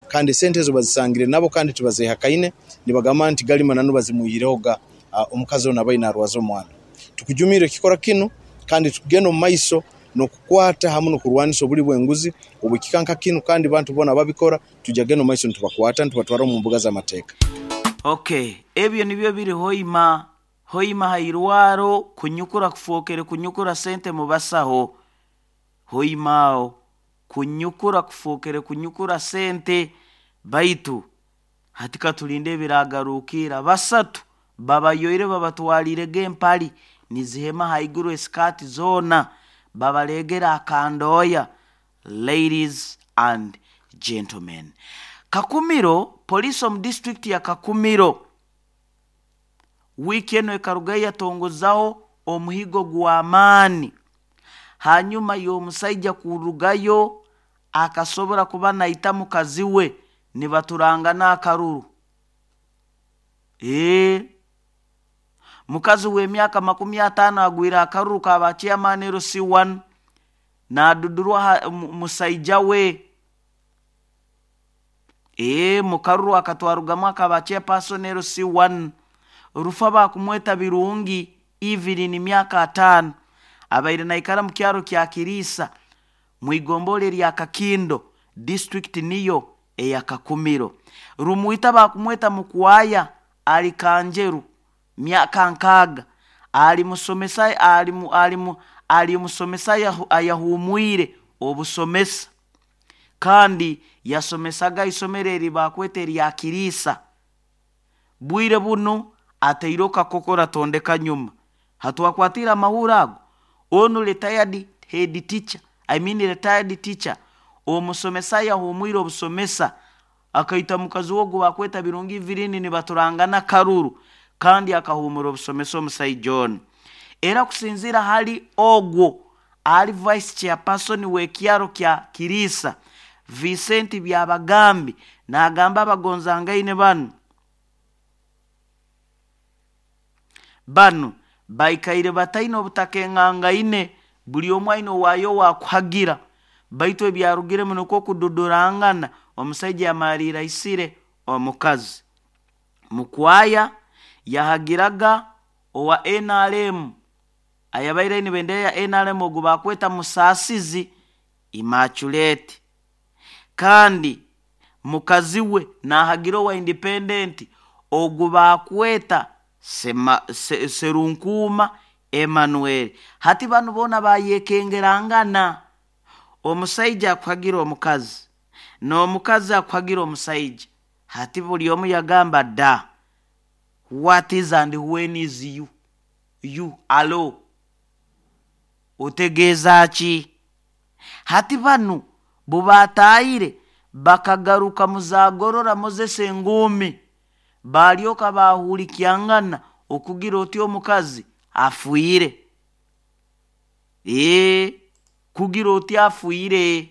Kandi esente ezo bazisangire nabo kandi tibazehakaine, nibagamba nti gali mananu bazimwihirehoga omukazi onu abaire narwaza omwana. Tukujumirra ekikorwa kinu kandi tukugenda omu maiso n'okukwata hamu n'okurwanisa obuli bw'enguzi obw'ekika nka kinu, kandi bantu boona ababikora tujja kugenda omu maiso nitubakwata nitubatwara omu mbuga z'amateeka. Ok, ebyo nibyo biri Hoima. Hoima ha irwaro kunyukura kufookere kunyukura sente mu basaho. Hoima aho kunyukura kufookere kunyukura sente, baitu hati katulinde ebiragarukiira. Basatu babayoire babatwaliirege empali nizihema haiguru esikaati zoona babalegere akandooya. Ladies and gentlemen. Kakumiro, Poliisi omu disiturikiti ya Kakumiro wiiki enu ekarugayo yatongozaho omuhigo gw'amaani hanyuma y'omusaija kurugayo akasobora kuba naita mukazi we nibaturangana akaruru. Ee, mukazi w'emyaka 50 agwire akaruru ka ba chairman LC1 naadudurwa musaija we. Ee, mukaruru akatwarugamu akaba chairperson LC1 Rufa bakumweta Birungi Evelyn myaka 50 abaire naikara mu kyaro kya Kiriisa mu igombolola erya Kakindo district niyo eya Kakumiro. Rumwita bakumweta Mukwaya ali Kanjeru myaka 60 ali musomesa ali ali ali musomesa ayahumwire obusomesa kandi yasomesaga isomero eri bakweta erya Kiriisa. Bwire bunu ataire kakokora tondeka nyuma. Hatwakwatira amahuri ago onu retired head teacher, I mean retired teacher, omusomesa yahumwire obusomesa akaita mukazi wogu bakweta Birungi Evelyn nibaturangana karuru kandi akahumura obusomesa omusaija onu. Era kusinzira hali ogwo ali vice chairperson w'ekyaro kya Kiriisa Vincent Byabagambi n'agamba abagonzangaine banu baikaire bataine obutakengangaine, buli omu aine owaayo wakuhagira, baitu ebyarugiremu nukwo kududurangana omusaija yamaliira aisire omukazi. Mukwaya yahagiraga owa NRM ayabaire aine bendera ya NRM ogu bakweta Musaasizi Immaculate, kandi mukazi we nahagira owa independent ogu bakweta Serunkuuma Emmanuel. Hati banu boona bayekengerangana, omusaija akuhagira omukazi n'omukazi akuhagira omusaija. Hati buli omu yagamba da what is and when is you you alo otegeeza ki? Hati banu bubatayire bakagaruka muzagorora Moses Engumi balyoka bahulikyangana okugira oti omukazi afuire. Kugira oti afuire.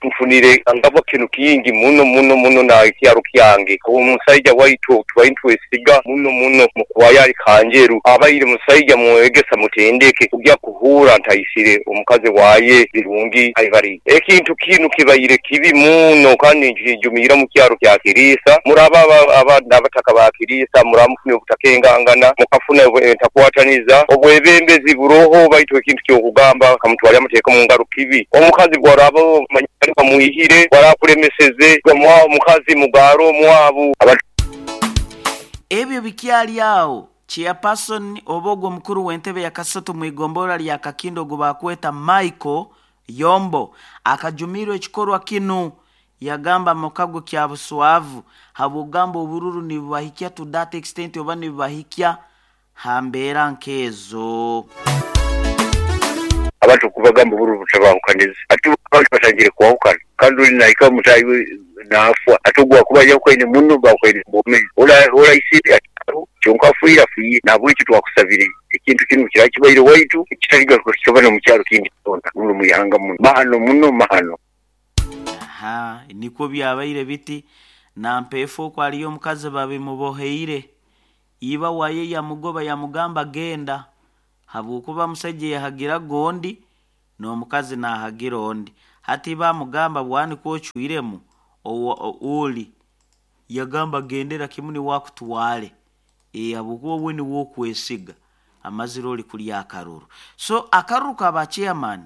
Nfunire angabwa kinu kingi muno muno muno na kyaro kyange. Omusaija waitu tubaire twesiga muno muno Mukwaya ali Kanjeru abaire musaija mwegesa mutendeke kujya kuhura ntaisire omukazi waye Birungi Ivory. Ekintu kinu kibaire kibi muno kandi nkijumiira mu kyaro kya Kiriisa. Muraba abataka ba Kiriisa muramufuna obutakengangana mukafuna entakwataniza obwebembezi buroho, baitu ekintu kyokugamba kamutwale amateeka mu ngaro kibi. Omukazi gwaraba bamuihire warakulemeseze omukazi mugaro omwabu. Ebyo bikyali awo chairperson oba ogwo omukuru w'entebe ya kasatu mu igombolola lya Kakindo ogu bakweta Michael Yombo akajumirwa ekikorwa kinu, yagamba mukago kya buswavu habwogamba obururu nibubahikya to that extent oba nibubahikya ha mbeera nkezo. Abantu kubagamba obururu butabahukaniza, ati abantu batangire kwahukana kandi uli naika mutayi nafwa ati ogwo kuba yahukaine muno bahukaine bomezi oraisire kyonka afuire afuire. Nabwekyo twakusabire ekintu kinu kirakibaire waitu kitaligaruka kikaba n'omukyaro kindi kyona muno muyanga muno mahano muno mahano. Aha, nikwo byabaire biti nampeefu okwo aliyo omukazi babimuboheire iba waye yamugoba yamugamba genda habwokuba musaija yahagira gondi n'omukazi nahagira ondi. Hati bamugamba bwani kwocwiremu oli yagamba gendera kimu niwakutwale habwokuba we niwe okwesiga amazire oli kulya akaruru. So akaruru kaba chairman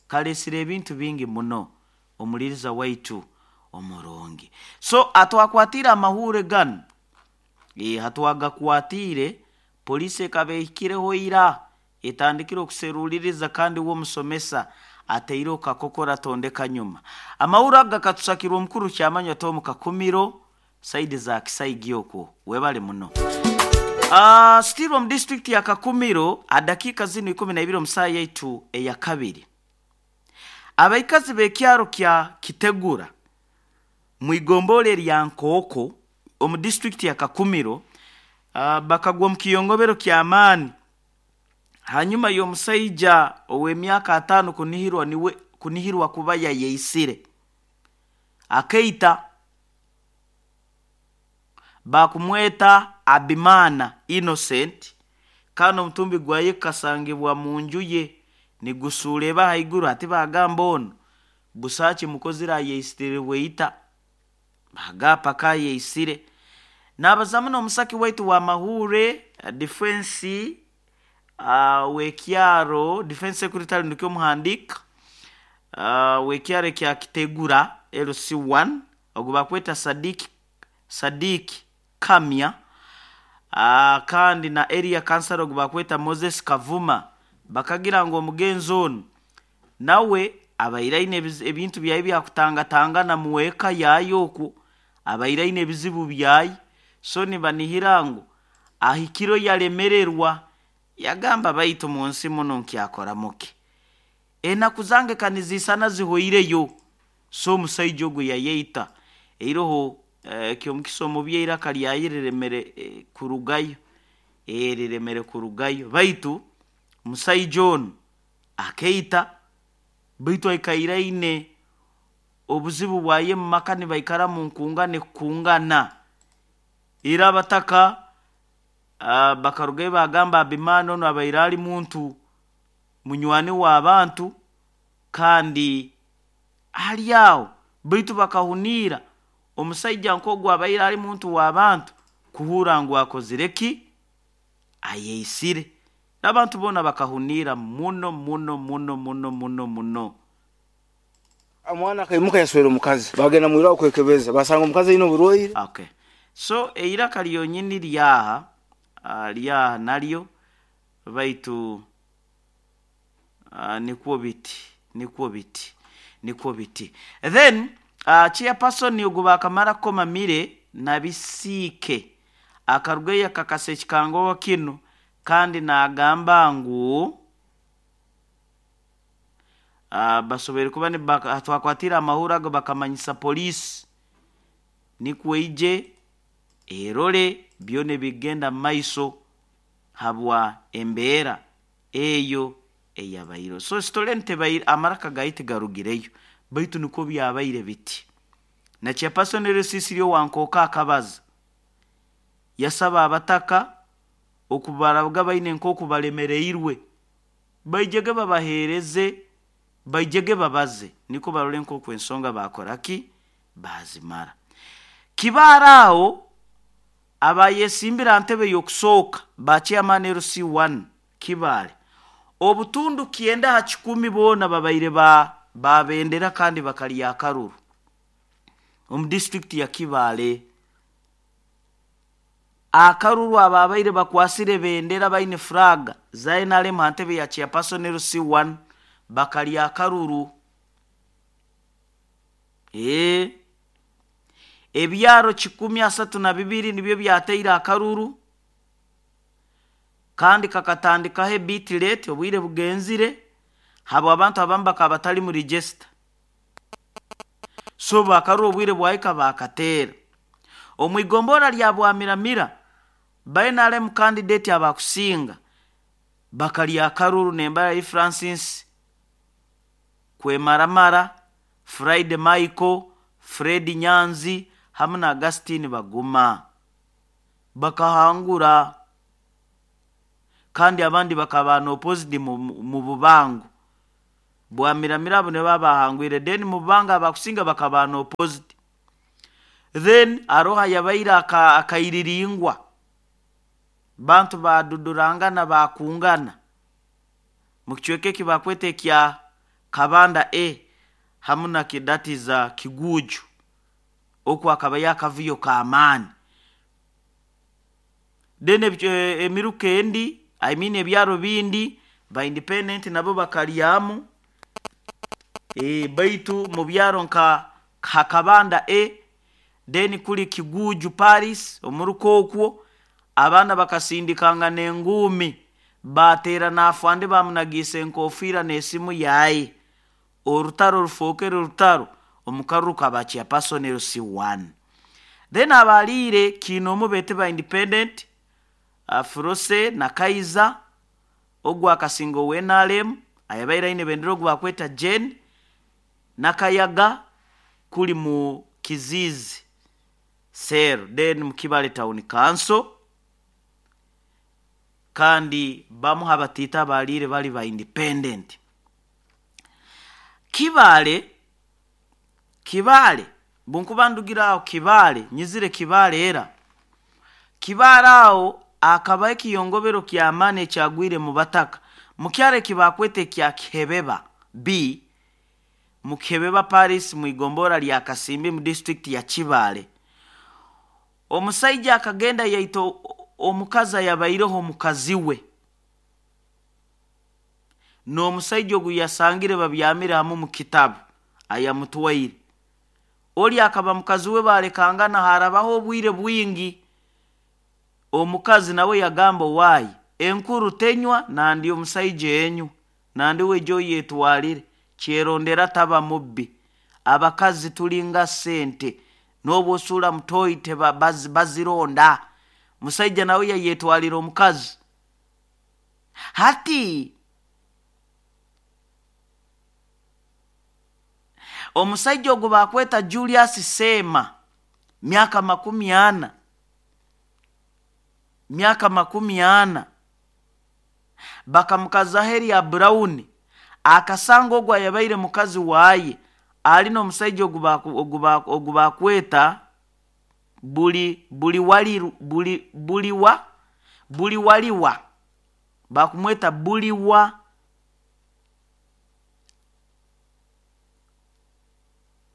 kalesire ebintu bingi muno omuliriza waitu omurungi. So atwakwatire amahure ganu, hatwagakwatire polisi ekaba ehikireho ira etandikire okuseruliriza kandi we omusomesa ateire okakokora tondeka nyuma. Amahuri aga katusakirwa omukuru kyamanywa Tom Kakumiro saidi za Kisaigi okwo webale muno. Still omu district ya Kakumiro adakika zinu 12 omusaa yaitu eya kabiri. Abaikazi b'ekyaro kya Kitegura mwigombole lya Nkooko omu district ya Kakumiro bakagwa omu kiyongobero ky'amaani hanyuma y'omusaija ow'emyaka 5 kunihirwa kuba yayeisire akeita. Bakumweta Abimana Innocent kandi omutumbi gwaye kasangibwa mu nju ye nigusuuleba haiguru. Ati bagamba ono busaaki mukozire ayeisire bweita bagapa kayeisire. Nabazamu n'omusaki waitu wa mahure defense wekyaro defense secretary nikyo muhandika wekyaro kya Kitegura LC1 ogu bakweta Sadiki Kamya, kandi na area councilor ogu bakweta Moses Kavuma. Bakagira ngu omugenzi ono nawe abaire aine ebintu byaye byakutangatangana muweka yayo okwo abaire aine ebizibu byaye. So nibanihira ngu ahikiro yalemererwa yagamba baitu munsi muno nkyakora muke enaku zange kanizisana zihoireyo. So omusaija ogwo yayeita eiroho kyomukisa omubi eiraka lyaye riremere kurugayo, riremere kurugayo. Baitu musaija ono akeita baitu aikaire aine obuzibu bwaye mu maka nibaikara mu nkungane kukungana. Era abataka bakarugayo bagamba Abimana ono abaire ali muntu munywani w'abantu kandi ali aho, baitu bakahuniira omusaija nk'ogwo abaire ali muntu w'abantu kuhura ngu akozire ki ayeisire. Abantu boona bakahuniira muno muno muno muno muno muno. Omwana akaimuka yaswera omukazi bagenda mwirwaho kwekebeza basanga omukazi aine oburwaire. Okay. So eiraka lyonyini lyaha lyaha naryo baitu nikwo biti nikwo biti nikwo biti. Then chairperson ogu bakamara kukoma mire nabisiike akarugayo akakasa ekikango kinu kandi nagamba ngu basoboire kuba twakwatira amahuri ago bakamanyisa polisi nikwo ije erole byona ebigenda mu maiso habwa embeera eyo eyabaire. So sitole ntebaire amaraka gaye tigarugireyo baitu nikwo byabaire biti. Na chairperson Rusisiri owankooka akabaza yasaba abataka okubaraga baine nk'oku balemereirwe baijege babaheereze baijege babaze niko barole nk'oku ensonga bakoraki bazimara. Kibaara aho abayesimbira ntebe y'okusooka ba chairman LC1 Kibaale obutundu 90 boona babaire babendera kandi bakalya akaruru omu district ya Kibaale. Akaruru ababaire bakwasire bendera baine flag za NRM ntebe ya chairperson LC1 bakalya akaruru. Ebyaro 132 nibyo byateire akaruru kandi kakatandikaho ebitilete obwire bugenzire habo abantu abamu bakaba batali mu register. So bakaruru obwire bwahika bakateera. Omwigombora lya Bwamiramira ba NRM candidate abakusinga bakalya akaruru nembara yi Francis Kwemaramara, Friday Michael, Fred Nyanzi hamwe na Augustine Baguma bakahangura kandi abandi bakaba opposite mu bubango. Bwamiramira abo nibo abahangwire. Then mubanga abakusinga bakaba no opposite. Then aroha yabaire akairiringwa bantu badudurangana bakungana mukicweka eki bakweta ekya Kabanda A hamu na kidatiza Kiguju, oku akaba yakavuyo k'amaani. Then emiruka endi, I mean ebyaro bindi ba independent nabo bakaryamu, baitu mu byaro nka Kabanda A, then kuli Kiguju Paris omuruka okwo abaana bakasindikangana enguumi bateera n'afande bamunagiisa enkofiira n'esimu yaye, orutaro rufookere orutaro omu karuru ka chairperson LC1. Then abaliire kiine bete ba independent, Frose na Kaiza ogwo akasinga owa NRM ayabaire aine bendera ogu bakweta Jane Nakayaga kuli mu Kizizi Cell, then mu Kibale Town Council. Kandi bamu habatiita abaliire bali ba independent. Kibale bunkuba ndugira aho Kibale, nyizire Kibale era Kibale aho akaba ekiyongobero ky'amaani ekyagwire mu bataka mukyaro ekibakweta ekya Kihebeba B, mu Kihebeba Paris mu igombora lya Kasimbi mu district ya Kibale. Omusaija akagenda yaita omukazi ayabaireho omukazi we, n'omusaija ogu yasangire babyamire hamu mu kitabu ayamutwaire. Oli akaba mukazi we balekangana harabaho obwire bwingi. Omukazi nawe yagamba waayi enkuru tenywa nandi omusaija enywa nandi wejo yetwalire kyerondera taba mubbi. Abakazi tulinga sente n'obwosula mutoyi bazironda. Musaija nawe yayetwalira omukazi. Hati omusaija ogu bakweta Julius Sema, miaka 40, miaka 40, bakamukazaho erya Brown. Akasanga ogu ayabaire mukazi waye ali n'omusaija ogu bakweta buli waliwa, bakumweta buliwa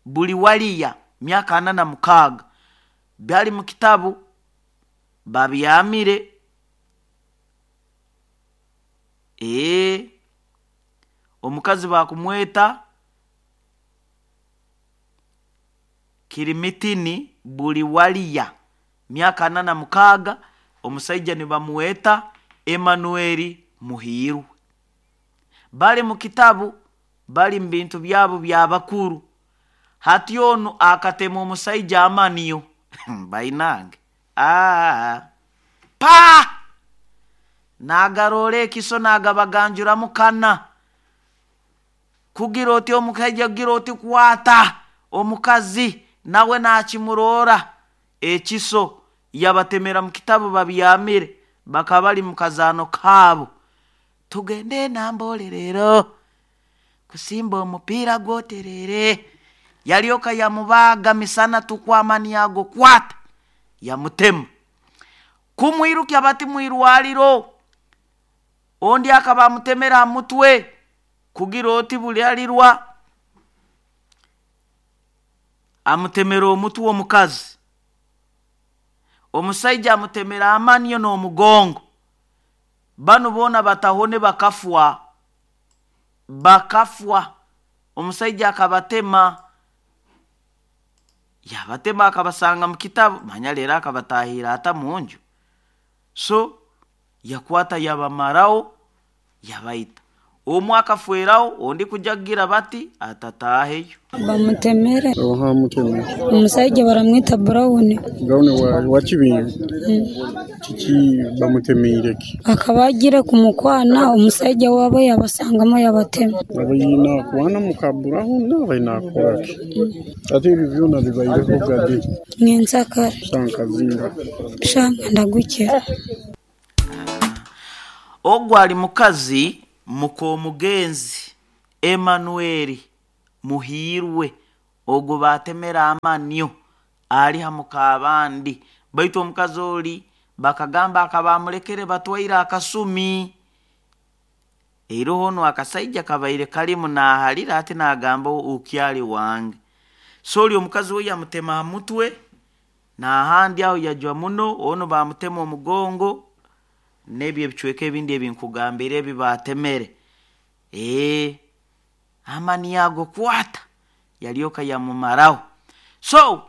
buli waliya, miaka 46, byali mu kitabu babyamire. Omukazi bakumweta Kirimitini buli waliya, miaka 46, omusaija nibamweta Emmanuel Muhirwe. Bali mu kitabu, bali mu bintu byabo byabakuru. Hati onu akatema omusaija amaniyo bainange pa nagarora ekiso nagabaganjuramu kana kugira oti omukaija kugira oti kwata omukazi nawe nakimurora ekiso yabatemera mu kitabu babyamire, bakaba bali mu kazaano kaabo. Tugende nambole rero kusimba omupiira gwoterere. Yalyoka yamubaga misana tukwamani yago kwata yamutema kumwirukya bati mwirwaliro. Ondi akaba amutemera mutwe kugira oti buli alirwa amutemera omutwe omukazi. Omusaija amutemera amaniyo n'omugongo. Banu boona batahone bakafwa, bakafwa. Omusaija akabatema, yabatema akabasanga mu kitabu, manya leero akabatahira ata munju. So yakwata yabamarao yabaita. Omwe akafweraho, ondi kujagira bati atataheyo. Bamutemere. Oha mutemere. Omusaija baramwita Brown. Brown wa Kibingo. Kiki bamutemeire ki? Akaba agira kumukwana omusaija wabo yabasangamo yabatema. Abayina kwana mukaburaho n'abayina akoraki. Ate ebyo byona bibaireho gade. Ngensakara. Shankazinga. Shanga ndagukira. Ogwo ali mukazi mukomugenzi Emmanuel Muhiirwe ogu batemera amanyo ali ha mukabandi, baitu omukazi oli bakagamba akaba amulekere batwaire akasumi. Iroho onu akasaija kabaire kalimu nahalira ati nagamba ukyali wange. So oli omukazi we yamutema ha mutwe nahandi aho yajwa muno, onu bamutema omugongo n'ebyo ebicweka ebindi ebinkugambire ebi batemere. Amani ago kwata yalyoka yamumaraho. So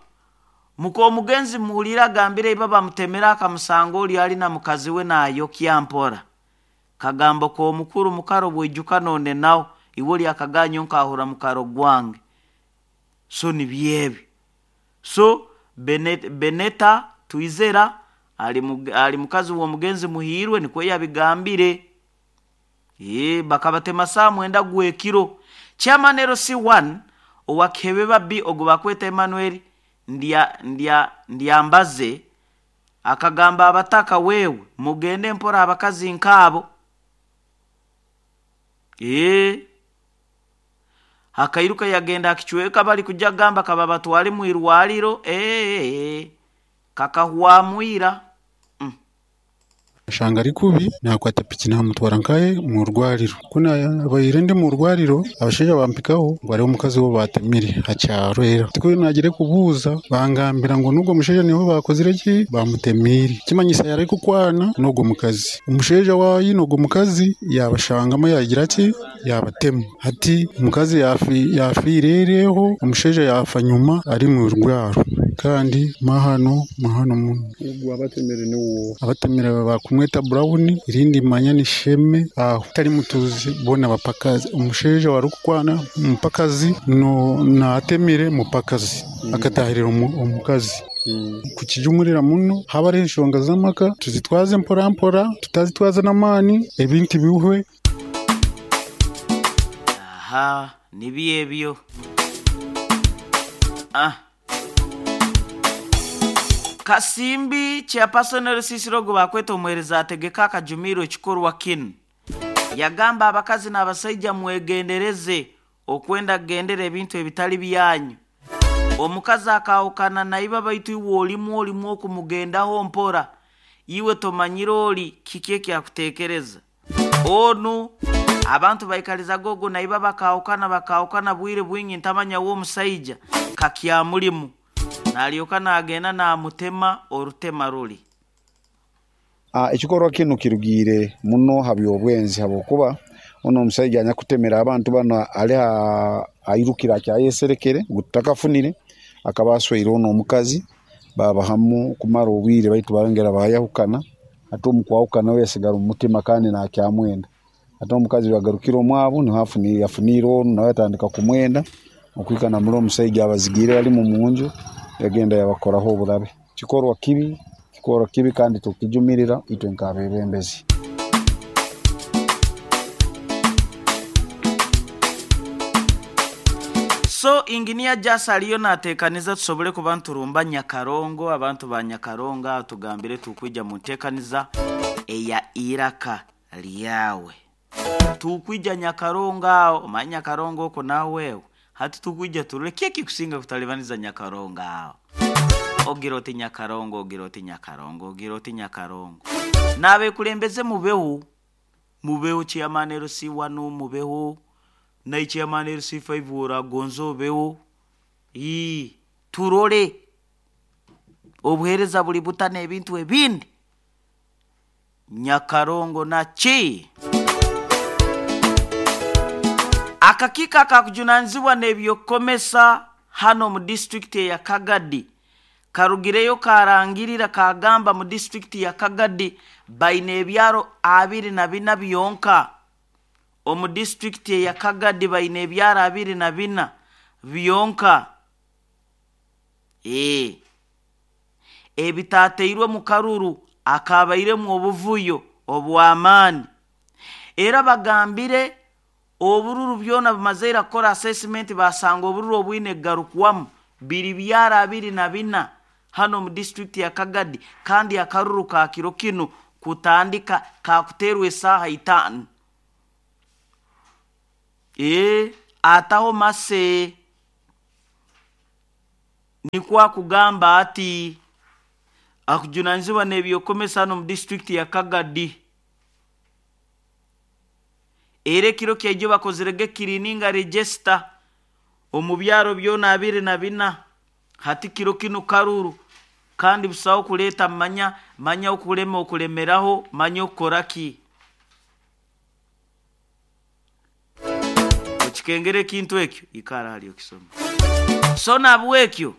muka omugenzi muhulire agambire iba bamutemera akamusanga oli ali na mukazi we nayokya mpora. Kagambo k'omukuru mukaro bwijuka none nawe iwe oli akaganyo nkahura mukaro gwange. So nibyebi. So Beneta Twizera ali mukazi w'omugenzi Muhiirwe nikwo yabigambire. Bakabatema saa 9 gw'ekiro. Chairman LC1 owa Kihebeba B ogu bakweta Emmanuel Ndyambaze akagamba abataka wewe mugende mpora abakazi nk'abo. Akairuka yagenda akichweka bali kujja gamba kaba batwale mu irwaliro. Kakahwamwira. Shanga ari kubi nakwata piki namutwara nkaye mu rwariro. Kuna abaire ndi mu rwariro abashaija bampikaho ngo ariho omukazi wo batemire hakyaro era. Tiko nagire kubuuza bangambira ngo nubwo omushaija niho bakozire ki bamutemire. Kimanyisa yari kukwana n'ogwo mukazi. Omushaija wayi n'ogwo mukazi yabashangamo yagira ki yabatema. Hati omukazi yafiirereho omushaija yafa nyuma ari mu rwaro. Kandi mahano muno. Ogwo abatemire niwo. Abatemire bakumweta Brown irindi manya ni Sheme aho tari mutuzi bona bapakazi omushaija warukukwana mupakazi no natemire mupakazi akatahirira omukazi. Kukijumurira muno haba ari enshonga z'amaka tuzitwaze mpora mpora tutazitwaza n'amaani ebintu bihwe. Aha nibyebyo. Kasimbi chairperson LC go bakweta omuhereza ategeka akajumiro ekikorwa kinu. Yagamba abakazi n'abasaija mwegendereze okwenda kugendera ebintu ebitali byanyu. Omukazi akawukana naiba baitu iwe olimu okumugendaho mpora. Iwe tomanyire oli kiki ekyakutekereza. Onu abantu baikaliza gogo naiba bakawukana bwire bwingi ntamanya wo omusaija kakyamulimu. Nalyoka nagenda namutema orutema ruli. Ekikorwa kinu kirugire muno ha byobwenzi habwokuba ono omusajja anyakutemera abantu bano ali airukira akyayeserekere gutakafunire akaba asweire ono omukazi baba hamu kumara obwire baitu barongera bayahukana ate omukwahukana we yasigara omu mutima kandi nakyamwenda ate omukazi yagarukira omwabo niho yafunire ono nawe yatandika kumwenda okwikana muri omusajja abazigire bali mu munju yagenda yabakoraho oburabe. Kikorwa kibi kandi tukijumirira itwe nk'abebembezi. So engineer Jasa aliyo natekaniza tusobole kuba nturumba Nyakarongo, abantu ba Nyakarongo tugambire tukwija mu ntekaniza eya iraka lyawe. Tukwija Nyakarongo aho, omanya Nyakarongo oko nawewe. Hati tukwija turule kiki kusinga kutalibaniza Nyakarongo aho. Ogira oti Nyakarongo, ogira oti Nyakarongo, ogira oti Nyakarongo. Nabe kulembeze mubeho. Mubeho chairman LC1 mubeho. Na chairman LC5 uragonzo beho. Turole obuhereza buli butana ebintu ebindi. Nyakarongo na chi. Akakika kakujunanizibwa n'ebyokomesa hano mu district ya Kagadi. Karugireyo karangirira kagamba mu district ya Kagadi baine ebyaro 24 byonka. Omu district ya Kagadi baine ebyaro 24 byonka. Ebitateirwe mu karuru akabairemu obuvuyo obw'amaani. Era bagambire obururu byona bimazeira kukora assessment basanga obururu obwine garukwamu biri byara 24 hano mu district ya Kagadi, kandi akaruru ka kiro kino kutandika kakuterwa esaha 5. Ataho mase nikwo akugamba ati akujunanizibwa n'ebyokomesa hano mu disitulikiti ya Kagadi. Era ekiro kyaijo bakozerege kirininga register omu byaro byona 24. Hati kiro kinu karuru kandi busaho kuleeta manya manya okulema okulemeraho manya okukora ki. Okikengera ekintu ekyo ikara hali okisoma. So nabwekyo